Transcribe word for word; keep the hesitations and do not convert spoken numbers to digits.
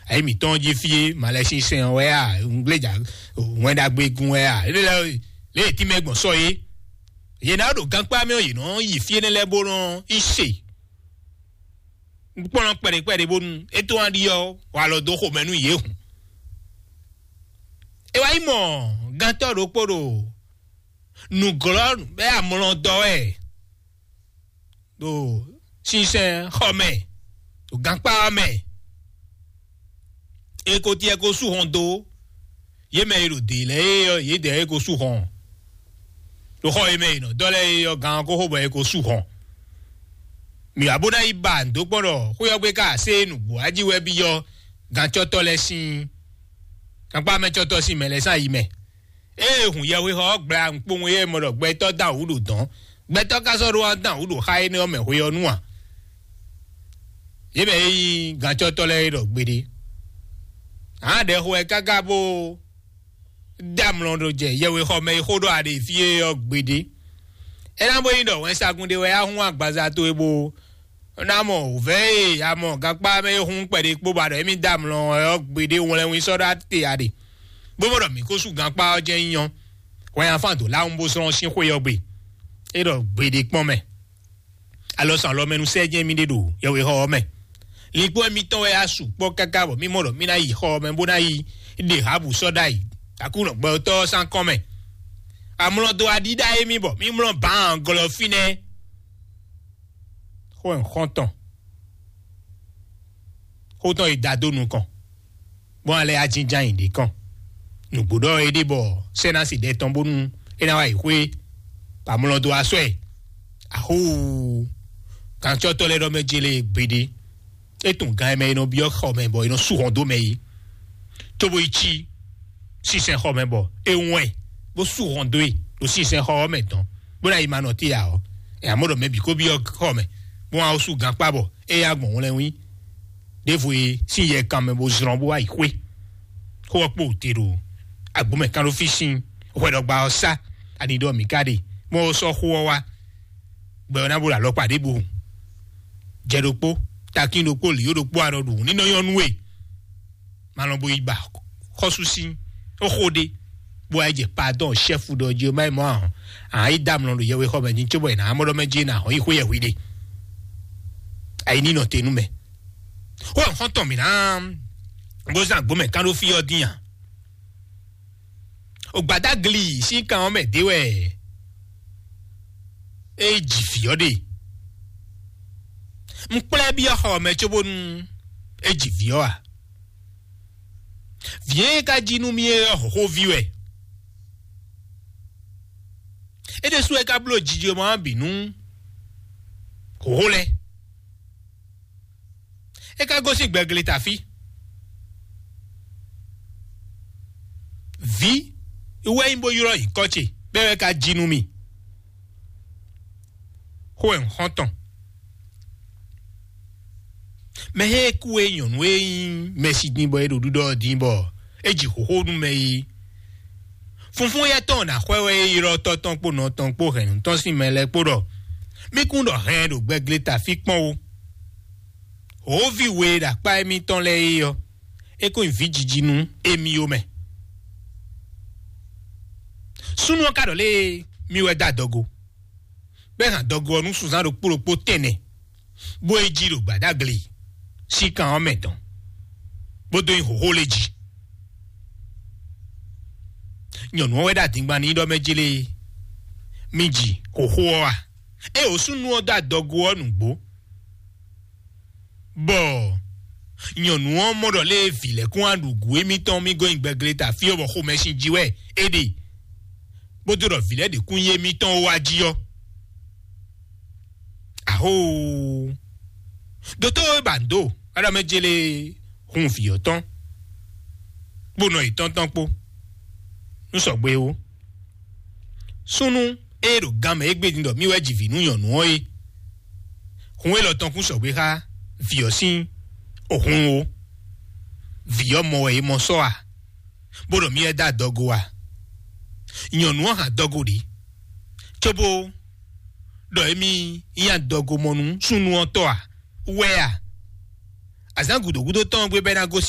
Ayǐ mǐtɔn jí fí e malɛsinsɛn ɔ́ wɛ a, ŋgbléjà wɛn ɖagbe gun wɛ a, lé lé tínmɛ gbɔn sɔ é. Yě ná ɖo gankpá mɛ ɔ́, yě nɔ yi fí énɛ́ lɛ́ɛ bó nɔ yi se. Kpɔ́n kpɛɖekpɛɖe bónú é tó wá ɖi ɔ́, wà lɔ dó xomɛ nú yě hǔn. É wá yi mɔ gántɔ́ ɖokpó ɖo nǔglɔ́ bɛ́ amlɔ dɔ wɛ ɖo sinsɛn xɔ mɛ, ɖo gankpá ɔ́ mɛ. É ko tiɛ ko sú hɔn dó yě mɛ e ɖo dě lɛ́ɛ é ɔ́, yědɛɛ é ko sú hɔn. Ɖo xɔ e mɛ è nɔ dɔ́ lɛ́ɛ é ɔ́, gan ɔ́ ko xo bɔ é ko sú hɔn. Mǐ wá bó ná yi ba nǔ dó kpɔ́n ɖɔ xwé ɔ́ gbe ka asé nǔgbó ají wɛ byɔ́ gancɔ́tɔ́ lɛ́ɛ sín gankpá mɛ cɔ́tɔ́ sín mɛ lɛ́ɛ sín ayi mɛ. Ée hun yɛhwexɔ ɔ́ gbla nukpowun e mɔ ɖɔ gbɛtɔ́ dán wǔ ɖo dɔ̌n, gbɛtɔ́ ka sɔ́ ɖó wá dán wǔ ɖo xá énɛ́ ɔ́ mɛ hwe ɔ́ nu a? Yě mɛ e nyí gancɔ́tɔ́ lɛ́ɛ é ɖɔ gbeɖé. Hǎn ɖɛxo wɛ káká bó dá amlɔ ɖo jɛ yɛhwexɔ mɛ e xó ɖɔ aɖe fí é ɔ́ gbeɖé. É ná bó nyí ɖɔ wɛnsagun ɖé wɛ á hún agbaza towe bó ná mɔ wǔvɛ́ e a mɔ gankpá mɛ e hun kpɛɖé kpó ba ɖɔ émí dó amlɔ ɔ́ gbeɖé wlɛ́nwín sɔ́ ɖó ate a ɖe, bó mɔ ɖɔ mǐ ko sú gankpá ɔ́ jɛ́n nyí ɔ́, hwɛ afán dǒ láwun bó zlɔ́n sín xwé ɔ́ gbe. É ɖɔ gbeɖé kpɔ́n mɛ. Alɔ sɔn alɔ mɛ nú sɛ́ jɛ́n mì ɖe ɖo yɛhwexɔ ɔ́ mɛ. Linkpɔ́n émítɔn wɛ á sukpɔ́ káká bɔ mí mɔ ɖɔ mí ná yi xɔ ɔ́ mɛ bó ná yi ɖe hǎbǔ sɔ́ ɖ'ayǐ. Aklúnɔ gbɛtɔ́ ɔ́ sín akɔ́n mɛ. Amlɔ dó aɖíɖá émí bɔ mí mlɔ́ bǎan glɔ́ fínɛ́. Xó ɛ xɔ́ntɔn xó tɔn e da dó nukɔn, bɔn alɛ ajínján yǐ ɖě kɔn. Nǔgbó ɖɔ é ɖe bɔ sɛ́nási ɖɛ tɔn bónú é ná wá yi xwé, bɔ amlɔ dó asɔ ɛ. Axóo, kancɔ́tɔ́ lɛ́ɛ ɖɔ mɛ jélé gbeɖé. É tunwun gan e mɛ è nɔ byɔ́ xɔ mɛ bɔ è nɔ sú hɔn dó mɛ é, cóbó yi cí sínsɛn xɔ mɛ bɔ é wɛn bó sú hɔn dó e ɖo sínsɛn xɔ ɔ́ mɛ dɔn, bó ná yi ma nɔ té ǎ ɔ́, ɛ amɔ̌ ɖɔ mɛ bǐ kó byɔ́ xɔ mɛ, bó wá sú gankpá bɔ é yá gbɔn wlɛ́nwí ɖěvo e sín yɛ kan mɛ bó zlɔ́n bó wá yi xwé. Xó ɔ́ kpo te ɖo agbǒmɛ kán ɖó fí sín hwɛɖɔgba ɔ́ sá, ani ɖɔ mǐ ka ɖe, mɔ ɔ́ sɔ́ xó ɔ́ wá, gbɛ ɔ́ ná bo ɖo alɔkpa ɖěbǔ. Jɛ ɖokpó, takín ɖokpó, lǐó ɖokpó, anɔ ɖu ní nɔ nyɔ́ nú we. Malɔn bo yi ba xɔ́sú sín xó ɖé, bó wá yi jɛ padɔn chɛ́fu ɖɔ jí má yi mɔ ahɔn, a yi dá amlɔ ɖo yɛwexɔ mɛ ní cóbɔ yi ná amɔ́ ɖɔ mɛ jí ná hɔn yi xwé yɛ hwi ɖe. Ayi ní nɔ te nú mɛ. Xó ɔ́ xɔ́ntɔn mǐ ná bó zán agbǒmɛ kán ɖó fí ɔ́ dín a? Ògbàdáglì sín kan ɔ́ mɛ dé wɛ é ji vǐ ɔ́ ɖe. Un kplá ɛ byɔ́ xɔ ɔ́ mɛ cóbónú é ji vǐ ɔ́ a? Vǐ e ka jí nú mì é ɔ́, hǒxóví wɛ. É ɖésú wɛ ka bló jijɔmɔ ɔ́ bǐ nú hǒxó lɛ́ɛ. É ka gosín gbɛgle tafí. Vǐ wɛ nyí bó ylɔ́ nyǐkɔ ce, bɛ́ wɛ ka jí nú mì. Xó wɛ un xɔ́n tɔn. Mɛ e kú e nyɔ̌nu e nyí mɛsi din bɔ é ɖo ɖiɖɔ ɔ́ din bɔ é ji xóxó nú mɛ e funfún yɛ́ tɔn ná xwɛ wɛ é ylɔ́ tɔ́ tɔn kpó nɔ tɔn kpó hɛ̌nnu tɔn sín mɛ lɛ́ɛ kpó ɖɔ mí kún ɖɔ hɛn ɖo gbɛglé tafí kpɔ́n ó. Hǒví we e ɖo akpá émítɔn lɛ́ɛ é ɔ́, é kún nyí vǐ jiji nú émí ó mɛ. Súnnu ɔ́ ka ɖɔ lé, mí wɛ dó adɔgo, bɔ é hɛn adɔgo ɔ́ nú sunzán ɖokpó ɖokpó tɛnɛ, bó yi jí ɖo gbǎdáglé sín kan ɔ́ mɛ tɔn, bó dó nyi hǒxó lě jí. Nyɔ̌nu ɔ́ wɛ ɖo adingban n'i ɖɔ mɛ jlé mì ji xǒxó ɔ́ a? Ée wǒ súnnu ɔ́ dó adɔgo ɔ́ nǔgbó, bɔ nyɔ̌nu ɔ́ mɔ ɖɔ lé vǐ lɛ́ɛ kún wá ɖu gǔ émítɔn mì gɔ́ nyi gbɛglé ta fí ɔ́, bɔ xomɛsin jí wɛ é ɖe, bó dó ɖɔ vǐ lɛ́ɛ ɖě kún nyí émítɔn ó wá jí ɔ́. Ahóoo! Dotó e ba nǔ dó Aɖɔmɛjele hun vǐ ɔ́ tɔn, kpó nɔ yětɔn tɔn kpó, nú sɔgbe ó. Súnnu e ɖo gan mɛ égbé din ɖɔ mì wɛ ji vǐ nú nyɔ̌nu ɔ́ é, hun élɔ́ tɔn kún sɔgbe xá vǐ ɔ́ sín hun ó. Vǐ ɔ́ mɔ wɛ é mɔ sɔ́ a, bó ɖɔ mì wɛ dó adɔgo a? Nyɔ̌nu ɔ́ hɛn adɔgo ɖě, cóbó ɖɔ émí nyí adɔgomɔnú súnnu ɔ́ tɔ́ a? Wɛ a? Azǎn gǔdo gúdo tɔn ɔ́ gbe bɔ é ná gosín